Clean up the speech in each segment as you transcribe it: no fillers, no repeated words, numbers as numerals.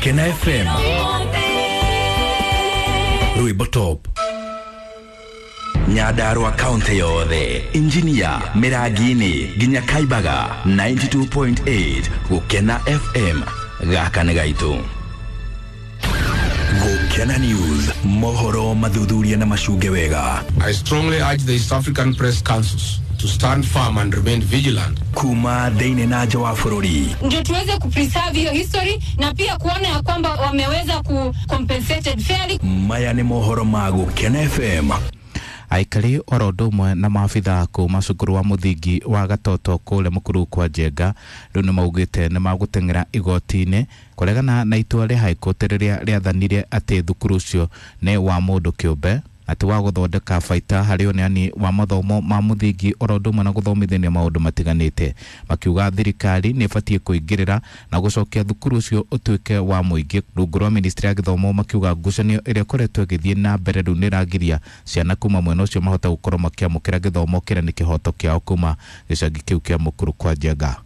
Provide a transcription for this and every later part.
Gukena FM Rwimbo Top Nyandarua kaunti yothe Injinia Mirangini nginya Kaibaga 92.8 Gukena FM gaka nĩ gaitũ. Gukena News mohoro mathuthuria na macunge wega. I strongly urge the East African Press Councils to stand firm and remain vigilant. Kuma thĩinĩ na nja wa bũrũri ndio tuweze kupreserve hiyo history na pia kuona ya kwamba wameweza ku compensated fairly. Maya nĩ mohoro ma Gukena FM. Aikari oro ũndũ ũmwe na maabithaa kuma cukuru wa mũthingi wa Gatoto kũrĩa Mũkuru kwa Njenga rĩu nĩ maugĩte nĩ magũteng'era igoti-inĩ kũregana na itua rĩa High Court rĩrĩa rĩathanire atĩ thukuru ũcio nĩ wa mũndũ kĩũmbe atĩ wa gũthondeka baita harĩ ũneani wa mathomo ma mũthingi oro ũndũ ũmwe na gũthomithania maũndũ matiganĩte. Makiuga thirikari nĩ ĩbatiĩ kũingĩrĩra na gũcokia thukuru ũcio ũtuĩke wa mũingĩ. Rungu rwa ministry ya gĩthomo makiuga ngucanio ĩrĩa ĩkoretwo ĩgĩthiĩ na mbere rĩu nĩ ĩragiria ciana kuma mwena ũcio mahote gũkorwo makĩamũkĩra gĩthomo kĩrĩa nĩ kĩhoto kĩao kuma gĩcagi kĩu kĩa Mũkuru kwa Njenga.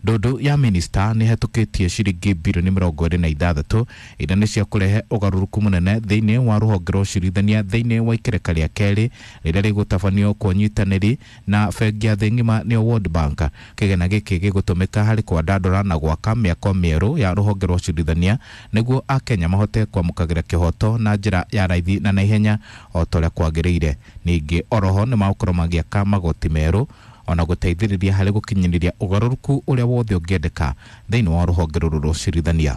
Ndundu ya minista nĩ ĩhetũkĩtie ciringi bilioni 26 iria nĩ cia kũrehe ũgarũrũku mũnene thĩinĩ wa rũhonge rwa ũcirithania thĩinĩ wa ikereka rĩa kerĩ rĩrĩa rĩgũtabanio kwa ũnyitanĩri na bengi ya thĩ ng'ima nĩyo World Bank. Kĩgĩna gĩkĩ gĩgũtũmĩka harĩ kwandandũra na gwaka mĩako mĩerũ ya rũhonge rwa ũcirithania nĩguo akenya mahote kwamũkagĩra kĩhoto na njĩra ya raithi na naihenya o ta ũrĩa kwagĩrĩire. Ningĩ oroho nĩ magũkorwo magĩaka magoti merũ ona gũteithĩrĩria harĩ gũkinyanĩria ũgarũrũku ũrĩa wothe ũngĩendeka thĩinĩ wa rũhonge rũrũ rwa ũcirithania.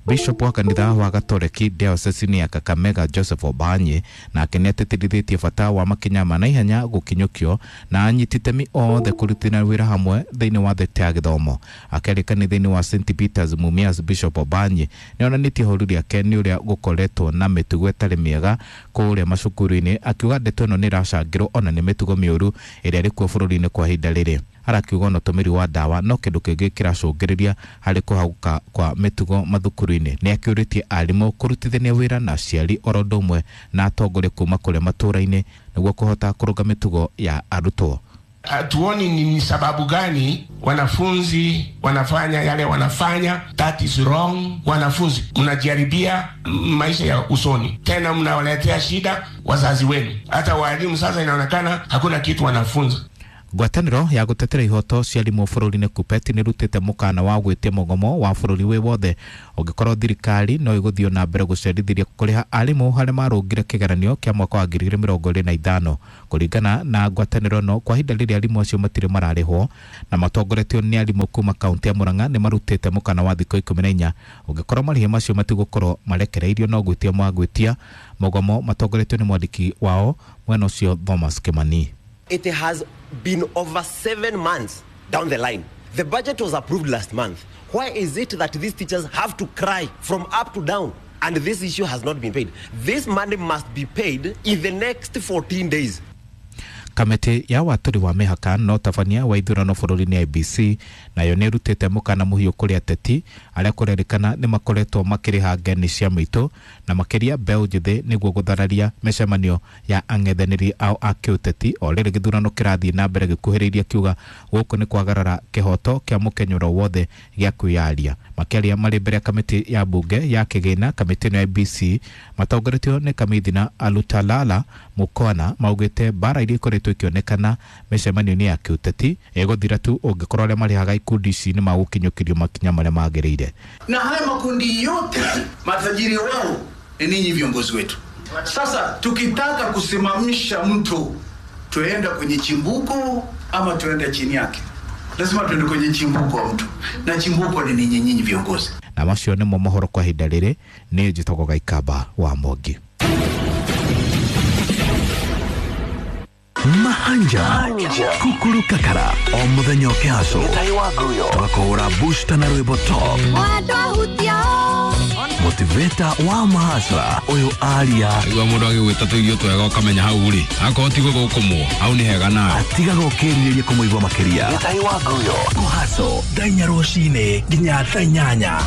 Bishop wa kanitha wa Gatoreki diocese ya Kakamega Joseph Obanye nake nĩ atĩtĩrithĩtie bata wa makinya ma naihenya gũkinyũkio na anyiti itemi othe kũrutithania wĩra hamwe thĩinĩ wa thekta ya gĩthomo. Akĩaria kanitha-inĩ wa St Peters Mumias, Bishop Obanye nĩ onanĩtie ihoru rĩake nĩ ũrĩa gũkoretwo na mĩtugo ĩtarĩ mĩega kũrĩa macukuru-inĩ, akiuga ndeto ĩno nĩ ĩracangĩrwo ona nĩ mĩtugo mĩũru ĩrĩa ĩrĩ kuo bũrũri-inĩ kwa ihinda rĩrĩ. Arakiuga ona ũtũmĩri wa ndawa no kĩndũ kĩngĩ kĩracũngĩrĩria harĩ kũhagũka kwa mĩtugo mathukuru-inĩ. Nĩ akĩũrĩtie arimũ kũrutithania wĩra na aciari oro ũndũ ũmwe na atongoria kuma kũrĩa matũũra-inĩ nĩguo kũhota kũrũnga mĩtugo ya arutwo. Hatuoni ni sababu gani wanafunzi wanafanya yale wanafanya. That is wrong. Wanafunzi mnajaribia maisha ya usoni, tena mnawaletea shida wazazi wenu. Hata walimu sasa inaonekana hakuna kitu wanafunza. Ngwatanĩro ya gũtetera ihoto cia arimũ bũrũri-inĩ KUPPET nĩ ĩrutĩte mũkana wa gwĩtia mũgomo wa bũrũri wĩ wothe ũngĩkorwo thirikari no ĩgũthiĩ na mbere gũcerithĩria kũrĩha arimũ harĩa marũngire kĩgeranio kĩa mwaka wa 2025. Kũringana na ngwatanĩro ĩno, kwa ihinda rĩrĩa arimũ acio matirĩ mararĩhwo na matongoretio nĩ arimũ kuma kaunti ya Murang'a nĩ marutĩte mũkana wa thikũ 14 ũngĩkorwo marĩhi macio matigũkorwo marekereirio no gwĩtia magwĩtia mũgomo matongoretio nĩ mwandĩki wao mwena ũcio Thomas Kimani. It has been over 7 months down the line. The budget was approved last month. Why is it that these teachers have to cry from up to down and this issue has not been paid? This money must be paid in the next 14 days. Kamĩtĩ ya watũri wa mĩhaka na ũtabania wa ithurano bũrũri-inĩ IEBC nayo nĩ ĩrutĩte mũkana mũhiũ kũrĩ ateti arĩa kũrerĩkana nĩ makoretwo makĩrĩha ngeni cia mĩitũ na makĩria mbeũ njĩthĩ nĩguo gũthararia mĩcemanio ya ang'ethanĩri ao a kĩũteti o rĩrĩ gĩthurano kĩrathiĩ na mbere gĩkuhĩrĩirie, kiuga gũkũ nĩ kwagarara kĩhoto kĩa mũkenyũro wothe gĩa kwĩyaria. Makĩaria marĩ mbere ya kamĩtĩ ya mbunge ya kĩgĩna, kamĩtĩ ĩno ya IEBC matongoretio nĩ kamĩthina Alutalala Mukwana maugĩte mbara iria ikoretwo ikĩonekana mĩcemanio-inĩ ya kĩũteti ĩgũthira tu ũngĩkorwo arĩa marĩhaga ikundi ici nĩ magũkinyũkĩrio makinya marĩa magĩrĩire. Na haya makundi yote matajiri wao ni ninyi viongozi wetu. Sasa tukitaka kusimamisha mtu tuenda kwenye chimbuko ama tuenda chini yake? Lazima tuende kwenye chimbuko wa mtu, na chimbuko ni ninyi nyinyi viongozi. Na macio nĩmo mohoro kwa ihinda rĩrĩ. Nĩ njĩtagwo Gaikamba wa Mwangi. Mahanja Kukuru Kakara o muthenya ũkĩhaco tũgakũhũra booster na rwĩmbo top motivator wa mahasra ũyũ aria igua mũndũ agĩgwĩta tũirio twega ũkamenya hau rĩ akorwo ti gũgũkũmwo hau nĩ hega nawe atigaga ũkĩrirĩria kũmũigua makĩria kũhaco thaa inya rũcinĩ nginya thaa inyanya.